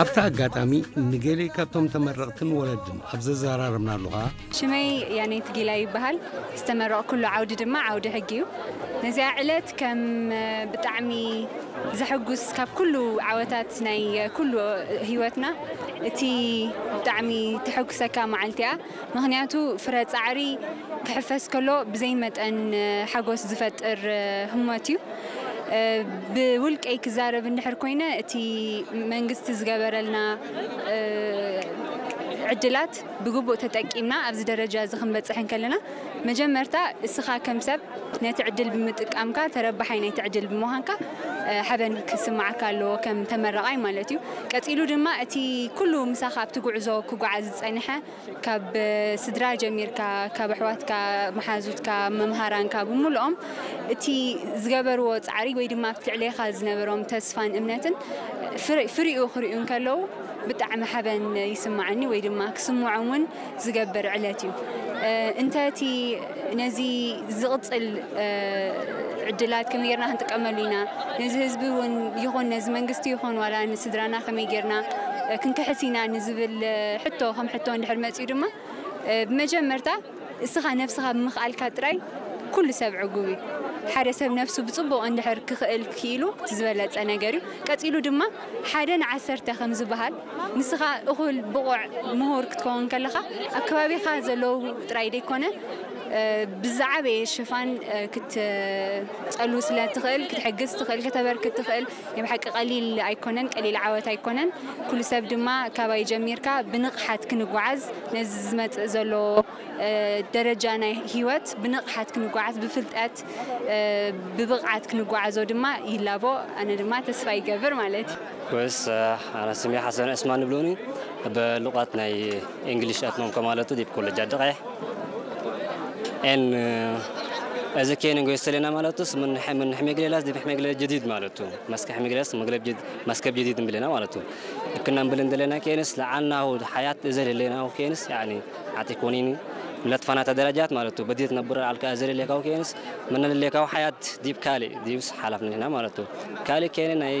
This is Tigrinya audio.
ኣብቲ ኣጋጣሚ ንገሌ ካብቶም ተመረቕትን ወለድን ኣብ ዘዘራረብናሉ ኸኣ፣ ሽመይ ያኔት ጊላ ይበሃል። ዝተመረቕኩሉ ዓውዲ ድማ ዓውዲ ሕጊ እዩ። ነዚኣ ዕለት ከም ብጣዕሚ ዘሐጉስ፣ ካብ ኩሉ ዓወታት ናይ ኩሉ ህይወትና እቲ ብጣዕሚ ተሐጉሰካ መዓልቲ እያ። ምኽንያቱ ፍረ ጻዕሪ ክሕፈስ ከሎ ብዘይ መጠን ሓጎስ ዝፈጥር ህሞት እዩ። ብውልቀይ ክዛረብ እንድሕር ኮይነ፣ እቲ መንግስቲ ዝገበረልና ዕድላት ብግቡእ ተጠቂምና ኣብዚ ደረጃ እዚ ክንበጽሕ እንከለና፣ መጀመርታ እስኻ ከም ሰብ ነቲ ዕድል ብምጥቃምካ ተረባሓይ ናይቲ ዕድል ብምዃንካ ሓበን ክስማዓካ ኣለዎ ከም ተመራቓይ ማለት እዩ። ቀጺሉ ድማ እቲ ኩሉ ምሳኻ ኣብቲ ጉዕዞ ክጓዓዝ ዝጸንሐ፣ ካብ ስድራ ጀሚርካ፣ ካብ ኣሕዋትካ፣ መሓዙትካ፣ መምሃራንካ ብምሉኦም እቲ ዝገበርዎ ጻዕሪ ወይ ድማ ኣብቲ ልዕሌኻ ዝነበሮም ተስፋን እምነትን ፍረ-፣ ፍሪኡ ክርእዩ እንከለዉ ብጣዕሚ ሓበን ይስማዓኒ ወይ ድማ ክስምዖም እውን ዝገብር ዕለት እዩ። እ፣ እንተ እቲ ነዚ ዝቕጽል፣ እ፣ ዕድላት ከመይ ጌርና ክንጥቀመሉ ኢና፣ ነዚ ህዝቢ እውን ይኹን ነዚ መንግስቲ ይኹን ዋላ ንስድራና ከመይ ጌርና፣ እ፣ ክንክሕስ ኢና ንዝብል፣ እ፣ ሕቶ ከም ሕቶ እንድሕር መጺኡ ድማ፣ እ፣ ብመጀመርታ እስኻ ነብስኻ ብምኽኣልካ ጥራይ ኩሉ ሰብ ዕጉብ እዩ። ሓደ ሰብ ነብሱ ብጽቡቕ እንድሕር ክኽእል ክኢሉ እቲ ዝበለጸ ነገር እዩ። ቀጺሉ ድማ ሓደ ንዓሰርተ ከም ዝበሃል፣ ንስኻ እኹል ብቑዕ ምሁር ክትከውን ከለኻ ኣብ ከባቢኻ ዘለዉ ጥራይ ደይኮነ፣ እ፣ ብዝዓበየ ሽፋን፣ እ፣ ክትጸሉ ስለ ትኽእል፣ ክትሕግዝ ትኽእል፣ ከተበርክት ትኽእል። ናይ ብሓቂ ቀሊል ኣይኮነን፣ ቀሊል ዓወት ኣይኮነን። ኩሉ ሰብ ድማ ካባይ ጀሚርካ ብንቕሓት ክንጓዓዝ ነዚ ዝመጽእ ዘሎ፣ እ፣ ደረጃ ናይ ህይወት ብንቕሓት ክንጓዓዝ፣ ብፍልጠት፣ እ፣ ብብቕዓት ክንጓዓዞ ድማ ይላቦ። ኣነ ድማ ተስፋ ይገብር ማለት እዩ። Pues, eh, ኣነ ስሜ ሓሰን ዕስማን ይብሉኒ። ብሉቓት ናይ እንግሊሽ ኣትመምከ ማለቱ ዲብ ኮለጅ ኣደቓይሕ። ኤን፣ እዚ ኬን ንጎይስ ተለና ማለቱስ ምን ሕ-፣ ምን ሕሜግሌላስ ዲብ ሕሜግሌ ጀዲድ ማለቱ። መስከ ሕሜግሌላስ መግለብ ጀድ-፣ መስከብ ጀዲድ እንብለና ማለቱ። እክና እንብል እንደለና ኬንስ ለዓልናሁ ሓያት እዘ ለለናሁ ኬንስ ያኒ ዓቲ ኮኒኒ ለትፋናታ ደረጃት ማለቱ። በዲት ነብረ ኣልካ እዘ ለሌካው ኬንስ ምን ለሌካው ሓያት ዲብ ካሊ ዲብስ ሓላፍ ንሕና ማለቱ። ካሊ ኬን ናይ